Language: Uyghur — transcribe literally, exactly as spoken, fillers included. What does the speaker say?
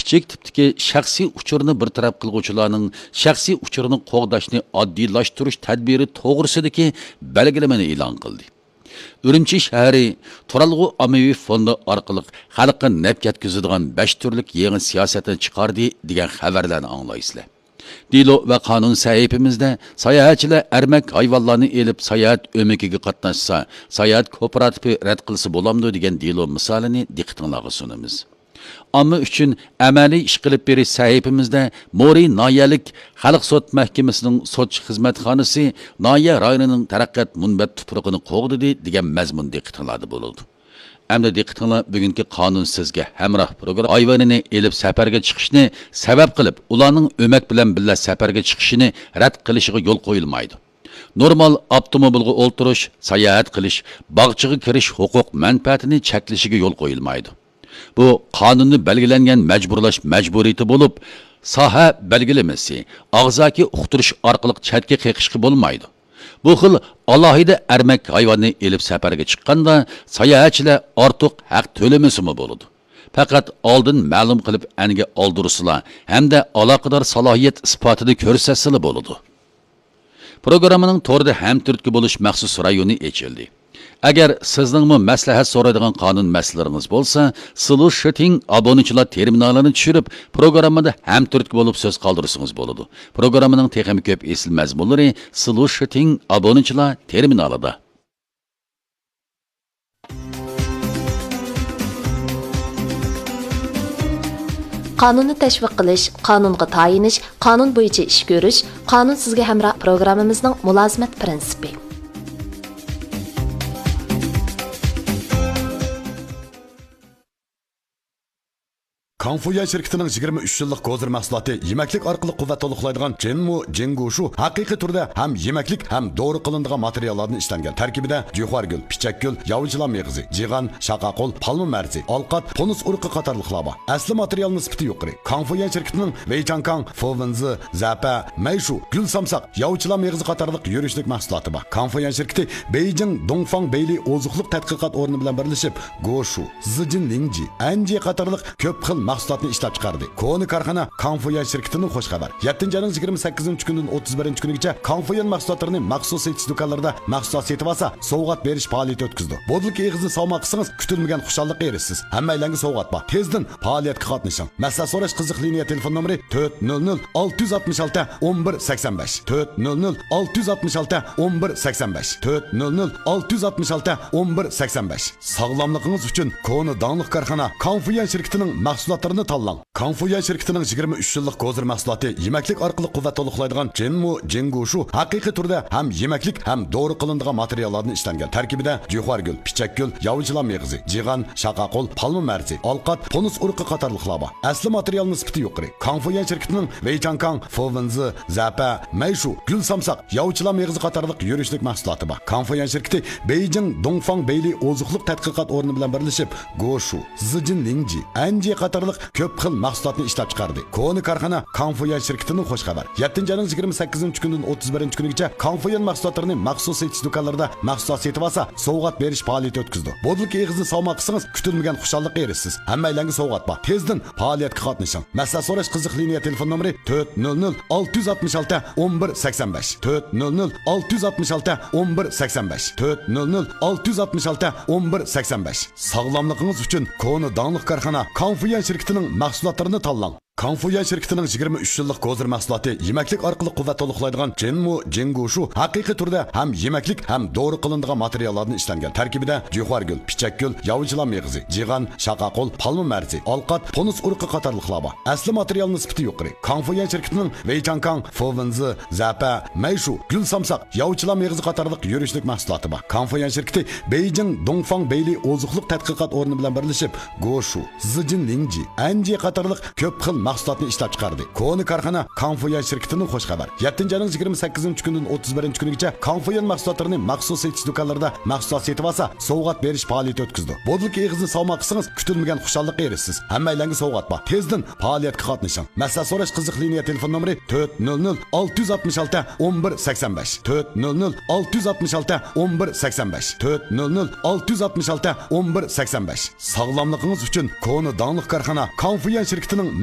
كىچىك تىپتىكى شەخسىي ئۇچۇرنى بىر تەرەپ قىلغۇچىلارنىڭ شەخسىي ئۇچۇرىنى قوغداشنى ئاددىيلاشتۇرۇش تەدبىرى توغرىسىدىكى بەلگىلىمىنى ئېلان قىلدى. ئۈرۈمچى شەھىرى تۇرالغۇ ئاممىۋى فوندى ئارقىلىق خەلققە نەپ يەتكۈزىدىغان بەش تۈرلۈك يېڭى سىياسەتنى چىقاردى دېگەن خەۋەرلەرنى ئاڭلايسىلەر. دېلو ۋە قانۇن سەھىپىمىزدە ساياھەتچىلەر ئەرمەك ھايۋانلارنى ئېلىپ ساياھەت ئۆمىكىگە قاتناشسا، ساياھەت كوپىراتىپى رەت قىلسا بولامدۇ دېگەن دېلو مىسالىنى دىققىتىڭلارغا سۇنىمىز. ئامما ئۈچۈن ئەمەلىي ئىش قىلىپ بېرىش سەھىپىمىزدە مورى ناھىيەلىك خەلق سوت مەھكىمىسىنىڭ سوتچى خىزمەتخانىسى ناھىيە رايونىنىڭ تەرەققىيات مۇنبەت تۇپرىقىنى قوغدىدى دېگەن مەزمۇن دىققىتىڭلاردا بولىدۇ. ئەمدى دىققىتىڭلار بۈگۈنكى قانۇن سىزگە ھەمراھ پروگرامما ھايۋىنىنى ئېلىپ سەپەرگە چىقىشنى سەۋەب قىلىپ، ئۇلارنىڭ ئۆمەك بىلەن بىللە سەپەرگە چىقىشىنى رەت قىلىشىغا يول قويۇلمايدۇ. نورمال ئاپتوموبىلغا ئولتۇرۇش، ساياھەت قىلىش، باغچىغا كىرىش ھوقۇق مەنپەئەتىنى چەكلىشىگە يول قويۇلمايدۇ. بۇ قانۇندا بەلگىلەنگەن مەجبۇرلاش مەجبۇرىيىتى بولۇپ، ساھە بەلگىلىمىسى، ئاغزاكى ئۇقتۇرۇش ئارقىلىق چەتكە قېقىشقا بولمايدۇ. بۇ خىل ئالاھىدە ئەرمەك ھايۋاننى ئېلىپ سەپەرگە چىققاندا، ساياھەتچىلەر ئارتۇق ھەق تۆلىمىسىمۇ بولىدۇ. پەقەت ئالدىن مەلۇم قىلىپ ئەنگە ئالدۇرسىلا ھەمدە ئالاقىدار سالاھىيەت ئىسپاتىنى كۆرسەتسىلا بولىدۇ. پروگراممىنىڭ توردا ھەمتۈرتكە بولۇش مەخسۇس رايونى ئېچىلدى. ئەگەر سىزنىڭمۇ مەسلىھەت سورايدىغان قانۇن مەسىلىلىرىڭىز بولسا، سلۇشىتىڭ ئابۇنىچىلار تېرمىنالىنى چۈشۈرۈپ، پروگراممىدا ھەمتۈرتكە بولۇپ سۆز قالدۇرسىڭىز بولىدۇ. پروگراممىنىڭ تېخىمۇ كۆپ ئېسىل مەزمۇنلىرى سلۇشىتىڭ ئابۇنىچىلار تېرمىنالىدا. قانۇننى تەشۋىق قىلىش، قانۇنغا تايىنىش، قانۇن بويىچە ئىش كۆرۈش، قانۇن سىزگە ھەمراھ پروگراممىمىزنىڭ مۇلازىمەت پىرىنسىپى. كاڭفۇيۈەن شىركىتىنىڭ يىگىرمە ئۈچ يىللىق گوزىر مەھسۇلاتى يېمەكلىك ئارقىلىق قۇۋۋەت تولۇقلايدىغان جىنمۇ جىڭگۇشۇ ھەقىقىي تۈردە ھەم يېمەكلىك ھەم دورا قىلىنىدىغان ماتېرىياللاردىن ئىشلەنگەن. تەركىبىدە جۈخۈەرگۈل، پىچەكگۈل، ياۋىچىلام مېغىزى، جىغان، شاقاقۇل، پالما مەرزى، ئالقات، پونۇس ئۇرۇقى قاتارلىقلار بار. ئەسلى ماتېرىيالنىڭ سۈپىتى يۇقىرى. كاڭفۇيۈەن شىركىتىنىڭ ۋېيچاڭكاڭ، فوۋېنزى، زەپە، مەيشۇ، گۈل سامساق، ياۋىچىلام مېغىزى قاتارلىق يۈرۈشلۈك مەھسۇلاتى بار. كاڭفۇيۈەن شىركىتى بېيجىڭ دۇڭفاڭ بېيلى ئوزۇق-تۈلۈك تەتقىقات ئورنى بىلەن بىرلىشىپ، گوشۇ، زىجىن لىڭجى، ئەنجى قاتارلىق كۆپ خىل مەھسۇلاتنى ئىشلەپ چىقاردى. كونا كارخانا كاڭفۇيۈەن شىركىتىدىن خۇش خەۋەر. يەتتىنچى ئاينىڭ يىگىرمە سەككىزىنچى كۈنىدىن ئوتتۇز بىرىنچى كۈنىگىچە كاڭفۇيۈەن مەھسۇلاتلىرىنى مەخسۇس سېتىش دۇكانلىرىدا مەھسۇلات سېتىۋالسا، سوۋغات بېرىش پائالىيىتى ئۆتكۈزىدۇ. بودىلكا ئېغىزىنى ساۋما قىلسىڭىز، كۈتۈلمىگەن خۇشاللىققا ئېرىشىسىز. ھەممەيلەنگە سوۋغات بار. تېزدىن پائالىيەتكە قاتنىشىڭ. مەسلىھەت سوراش قىزىق لىنىيە تېلېفون نومۇرى تۆت نۆل نۆل ئالتە يۈز ئاتمىش ئالتە ئون بىر سەكسەن بەش، تۆت نۆل نۆل ئالتە يۈز ئاتمىش ئالتە ئون بىر سەكسەن بەش، تۆت نۆل نۆل ئالتە يۈز ئاتمىش ئالتە ئون بىر سەكسەن بەش. ساغلاملىقىڭىز ئۈچۈن كونا داڭلىق كارخانا كاڭفۇيۈەن شىركىتىنىڭ مەھسۇلاتلىرىنى تاللاڭ. كاڭفۇيۈەن شىركىتىنىڭ يىگىرمە ئۈچ يىللىق گوزىر مەھسۇلاتى يېمەكلىك ئارقىلىق قۇۋۋەت تولۇقلايدىغان جىنمۇ جىڭگۇشۇ ھەقىقىي تۈردە ھەم يېمەكلىك ھەم دورا قىلىنىدىغان ماتېرىياللاردىن ئىشلەنگەن. تەركىبىدە جۈخۈەرگۈل، پىچەكگۈل، ياۋىچىلام مېغىزى، جىغان، شاقاقۇل، پالما مەرزى، ئالقات، پونۇس ئۇرۇقى قاتارلىقلار بار. ئەسلى ماتېرىيالنىڭ سۈپىتى يۇقىرى. كاڭفۇيۈەن شىركىتىنىڭ ۋېيچاڭكاڭ، فوۋېنزى، زەپە، مەيشۇ، گۈل سامساق، ياۋىچىلام مېغىزى قاتارلىق يۈرۈشلۈك مەھسۇلاتى بار. كاڭفۇيۈەن شىركىتى بېيجىڭ دۇڭفاڭ بېيلى ئوزۇق-تۈلۈك تەتقىقات ئورنى بىلەن بىرلىشىپ، گوشۇ، زىجىن لىڭجى، ئەنجى قاتارلىق كۆپ خىل مەھسۇلاتنى ئىشلەپ چىقاردى. كونا كارخانا كاڭفۇيۈەن شىركىتىدىن خۇش خەۋەر. يەتتىنچى ئاينىڭ يىگىرمە سەككىزىنچى كۈنىدىن ئوتتۇز بىرىنچى كۈنىگىچە كاڭفۇيۈەن مەھسۇلاتلىرىنى مەخسۇس سېتىش دۇكانلىرىدا مەھسۇلات سېتىۋالسا، سوۋغات بېرىش پائالىيىتى ئۆتكۈزىدۇ. بودىلكا ئېغىزىنى ساۋما قىلسىڭىز، كۈتۈلمىگەن خۇشاللىققا ئېرىشىسىز. ھەممەيلەنگە سوۋغات بار. تېزدىن پائالىيەتكە قاتنىشىڭ. مەسلىھەت سوراش قىزىق لىنىيە تېلېفون نومۇرى تۆت نۆل نۆل ئالتە يۈز ئاتمىش ئالتە ئون بىر سەكسەن بەش، تۆت نۆل نۆل ئالتە يۈز ئاتمىش ئالتە ئون بىر سەكسەن بەش، تۆت نۆل نۆل ئالتە يۈز ئاتمىش ئالتە ئون بىر سەكسەن بەش. ساغلاملىقىڭىز ئۈچۈن كونا داڭلىق كارخانا كاڭفۇيۈەن شىركىتىنىڭ مەھسۇلاتلىرىنى تاللاڭ. كاڭفۇيۈەن شىركىتىنىڭ يىگىرمە ئۈچ يىللىق گوزىر مەھسۇلاتى يېمەكلىك ئارقىلىق قۇۋۋەت تولۇقلايدىغان جىنمۇ جىڭگۇشۇ ھەقىقىي تۈردە ھەم يېمەكلىك ھەم دورا قىلىنىدىغان ماتېرىياللاردىن ئىشلەنگەن. تەركىبىدە جۈخۈەرگۈل، پىچەكگۈل، ياۋىچىلام مېغىزى، جىغان، شاقاقۇل، پالما مەرزى، ئالقات، پونۇس ئۇرۇقى قاتارلىقلار بار. ئەسلى ماتېرىيالنىڭ سۈپىتى يۇقىرى. كاڭفۇيۈەن شىركىتىنىڭ ۋېيچاڭكاڭ، فوۋېنزى، زەپە، مەيشۇ، گۈل سامساق، ياۋىچىلام مېغىزى قاتارلىق يۈرۈشلۈك مەھسۇلاتى بار. كاڭفۇيۈەن شىركىتى بېيجىڭ دۇڭفاڭ بېيلى ئوزۇق-تۈلۈك تەتقىقات ئورنى بىلەن بىرلىشىپ، گوشۇ، زىجىن لىڭجى، ئەنجى قاتارلىق كۆپ خىل مەھسۇلاتنى ئىشلەپ چىقاردى. كونا كارخانا كاڭفۇيۈەن شىركىتىدىن خۇش خەۋەر. يەتتىنچى ئاينىڭ يىگىرمە سەككىزىنچى كۈنىدىن ئوتتۇز بىرىنچى كۈنىگىچە كاڭفۇيۈەن مەھسۇلاتلىرىنى مەخسۇس سېتىش دۇكانلىرىدا مەھسۇلات سېتىۋالسا، سوۋغات بېرىش پائالىيىتى ئۆتكۈزىدۇ. بودىلكا ئېغىزىنى ساۋما قىلسىڭىز، كۈتۈلمىگەن خۇشاللىققا ئېرىشىسىز. ھەممەيلەنگە سوۋغات بار. تېزدىن پائالىيەتكە قاتنىشىڭ. مەسلىھەت سوراش قىزىق لىنىيە تېلېفون نومۇرى تۆت نۆل نۆل ئالتە يۈز ئاتمىش ئالتە ئون بىر سەكسەن بەش، تۆت نۆل نۆل ئالتە يۈز ئاتمىش ئالتە ئون بىر سەكسەن بەش، تۆت نۆل نۆل ئالتە يۈز ئاتمىش ئالتە ئون بىر سەكسەن بەش. ساغلاملىقىڭىز ئۈچۈن كونا داڭلىق كارخانا كاڭفۇيۈەن شىركىتىنىڭ